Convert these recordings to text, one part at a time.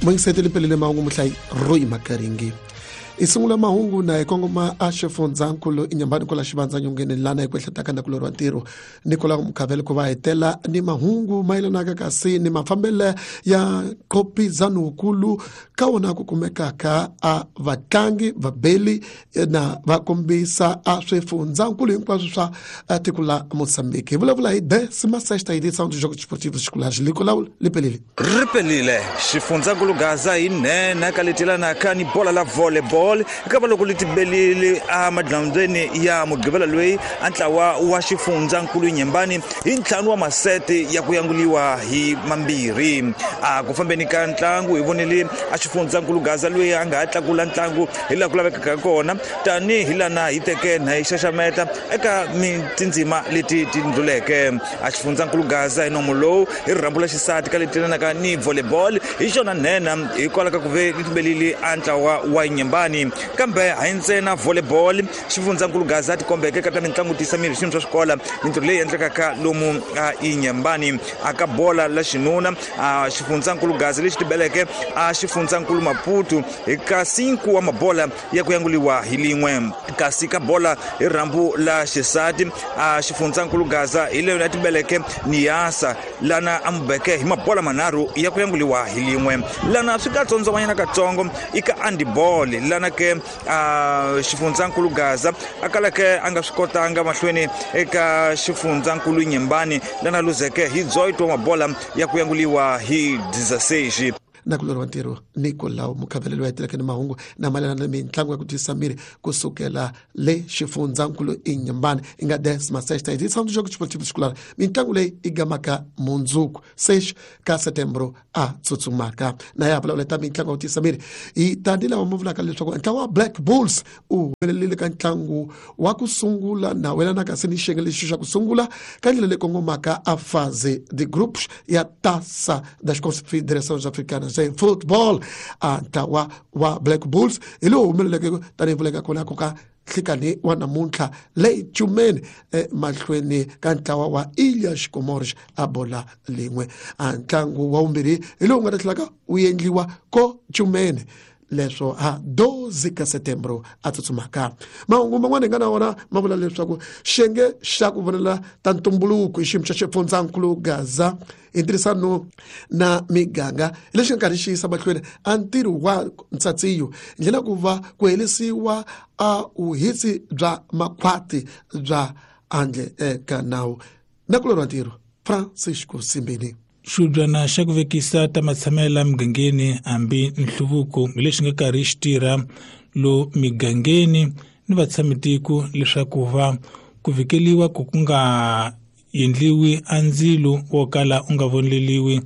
Moyingiseteli pelele mahungu, muhlayi Roy Makaringi. I sungula mahungu na hi kongoma a xifundzankulu inyambani kwala xivandza nyongeni lana hi ku ehletaka na kulori wa ntirho Nicola Mukhavele ku va hetela ni mahungu mayelanaka kasi ni mafambele ya nqopizano wukulu ka wona ku kumekaka a vatlangi vabeli na va kombisa a swifundzankulu hinkwaswo swa tiko la Mozambique. Hi vulavula hi decima sexta edição do Jogos Desportivos Escolares. Nicolau Lipelile. Ri pelile xifundzankulu Gaza hi nhenha ka leti yelanaka ni bola la volleyball eka va loko li tibelile emadyambyeni ya Mugqivela loyi a ntlawa wa xifundzankulu Nyembani hi ntlhanu wa masete ya ku yanguliwa hi mambirhi. A ku fambeni ka ntlangu hi vonile a xifundzankulu Gaza loyi a nga ha tlakula ntlangu hi laha ku lavekaka kona tanihi lana hi teke na hi xaxameta eka tindzima leti ti ndluleke. A xifundzankulu Gaza hi nomo lowu hi rirhambu la xisati ka leti yelanaka ni volleyball hi xona nhenha hikwalaho ka ku ve li tibelile a ntlawa wa Nyembani. Kambe hayi ntsena volleyball, xifundzankulu Gaza tikombeke ka ta mitlangu tiyisa miri swiyimo swa swikola mintirho leyi endlekaka lomu a Inyembani. A ka bola la xinuna a xifundzankulu Gaza lexi tibeleke a xifundzankulu Maputo hi ka 5 wa mabola ya ku yanguliwa hi lin'we. Kasi ka bola hi rhambu la xisati a xifundzankulu Gaza hi leyo la tibeleke Niyasa lana a mubeke hi mabola manharhu ya ku yanguliwa hi lin'we. Lana swi ka tsondzomanyana katsongo i ka handball lana ke a xifundzankulu Gaza a kalake a nga swi kotanga mahlweni eka xifundzankulu Nyembani lana luzeke hi dzoito wa mabola ya ku yanguliwa hi 16. Na kulori wa ntirho Nicolau Mukhavelelo wa heteleke ni mahungu na mayelana na mitlangu ya ku tiyisa miri kusukela le xifundzankulu Inyambani i nga decima sexta edição do Jogo Desportivo Escolar. Mitlangu leyi i gamaka mundzuku 6 ka setembro a tsutsumaka na ya vulavula ta mitlangu ya ku tiyisa miri hi tani lava mu vulaka leswaku ntlangu wa Black Bulls u humelelile ka ntlangu wa ku sungula na welanaka se ni xiyenge lexi xa ku sungula ka ndlela leyi kongomaka a phase de groups ya Taça das Confederações Africanas de Football. A ntlawa wa Black Bulls hi lowu humeleleke tanihi vuleka kona ku ka nhlikani wa namuntlha leyi cumeni emahlweni ka ntlawa wa Ilhas Comores a bola lin'we. A ntlangu wa vumbirhi hi lowu nga ta tlhelaka wu endliwa ko cumeni leswo ha 12 ka setembro a tsutsumaka. Mahungu man'wana hi nga na wona ma vula leswaku xiyenge xa ku vonela ta ntumbuluko i xiyimo xa xifundzankulu Gaza hi ntirhisano na miganga lexi nga karhi xi yisa mahlweni a ntirho wa ntsatsiyo hi ndlela ku va ku herisiwa a vuhisi bya makhwati bya handle eka nawu. Na kulorwa ntirho Francisco Simbini. Xibyana xa ku vekisa ta matshamelo emugangeni hambi nhluvuko hi lexi nga karhi xi tirha lo migangeni ni vatshamitiko leswaku va ku vhikeliwa ku ku nga endliwi a ndzilo wo kala u nga voneleliwi,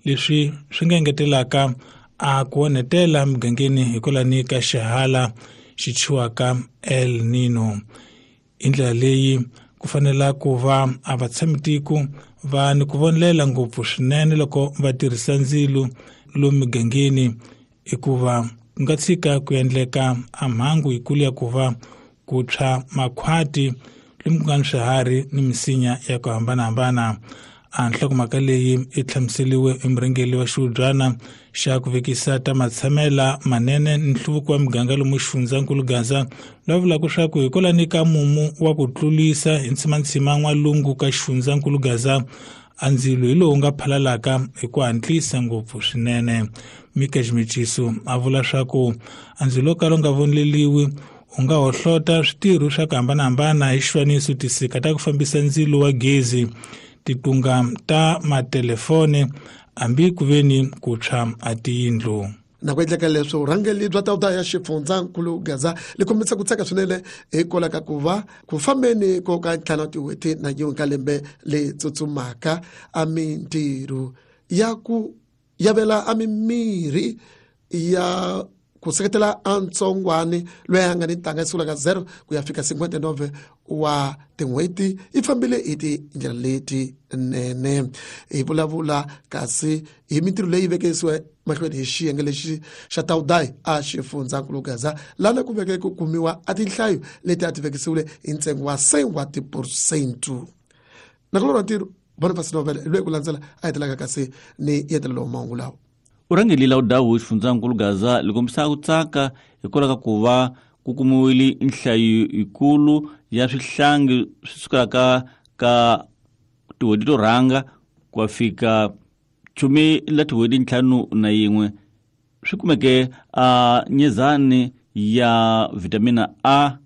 leswi swi nga engetelaka a ku onhetela migangeni hikwalani ka xihala xi thyiwaka El Nino. Hi ndlela leyi ku fanela ku va a vatshamitiko va ni ku vonelela ngopfu swinene loko va tirhisa ndzilo lomu migangeni, hikuva ku nga tshika ku endleka a mhangu yikulu ya ku va ku tshwa makhwati lomu ku nga ni swiharhi ni misinya ya ku hambanahambana. A nhlokomhaka leyi i hlamuseriwe hi murhangeri wa xihubyana xa ku vekisa ta matshamela manene ni nhluvuko wa miganga lomu xifundzankulu Gaza, loyi a vulaka leswaku hikwalani ka mumu wa ku tlulisa hi ntshimantsima n'walungu ka xifundzankulu Gaza, a ndzilo hi lowu nga phalalaka hi ku hatlisa ngopfu swinene. Mika Ximiciso a vula leswaku a ndzilo wo kala wu nga voneleriwi u nga hohlota switirho swa ku hambanahambana, hi xifaniso tisika ta ku fambisa ndzilo wa gezi, titunga ta matelefone, hambi ku ve ni ku tshwa a tiyindlu. Na ku endleka leswo vurhangeri bya tawuta ya xifundzankulu Gaza li kombisa ku tsaka swinene hikwalaho ka ku va ku fambeni ko ka ntlhanu wa tin'hweti na yin'we ka lembe leyi tsutsumaka a mintirho ya ku yavela a mimirhi ya ku seketela a ntsongwani loyi a nga ni ntanga yi sungula ka 0 ku ya fika 59 wa tin'hweti yi fambile hi tindlela letinene. Hi vulavula kasi hi mintirho leyi vekisiwe mahlweni hi xiyenge lexi xa tawudayi a xifundzankulu Gaza lana ku veke ku kumiwa a tinhlayo leti a ti vekisiwile hi ntsengo wa 100 wa tiphurosente. Na ku lorha ntirho Boniface Novele loyi ku landzela a hetelaka kasi ni yentelelo wa mahungu lawa. U rhangelile udawu xifundzankulu Gaza li kombisa ku tsaka hikwalaho ka ku va ku kumiwile nhlayo yikulu ya swihlangi swi sukelaka ka tin'hweti to rhanga ku ya fika chumi la tin'hweti 51 swi kumeke a nyezani ya vitamina A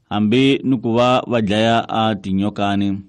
hambi ni ku va va dlaya a tinyokani.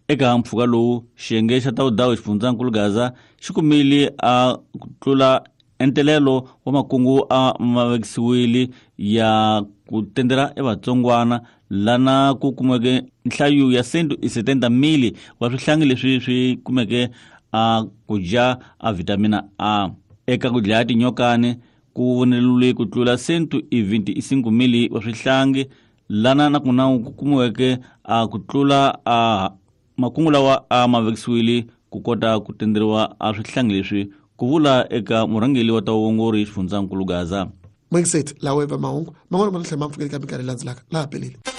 Eka mpfhuka lowu, xiyenge xa Tawudawu xifundzankulu Gaza xi kumile a ku tlula entelelo wa makungu a ma vekisiwile ya ku tendela evatsongwana lana ku kumeke nhlayo ya 170 mili wa swihlangi leswi swi kumeke a ku dya a vitamina A. Eka ku dlaya tinyokani ku vonelule ku tlula 125 mili wa swihlangi lana na kuna ku kumiweke a ku tlula a makungu lawa a ma vekisiwile ku kota ku tenderiwa a swihlangi leswi, ku vula eka murhangeri wa ta vuongori xifundzankulu Gaza. Mwingiseti lawa eva mahungu man'wana ma tlhela ma pfukeli ka minkarhi leyi landzelaka laha peleli.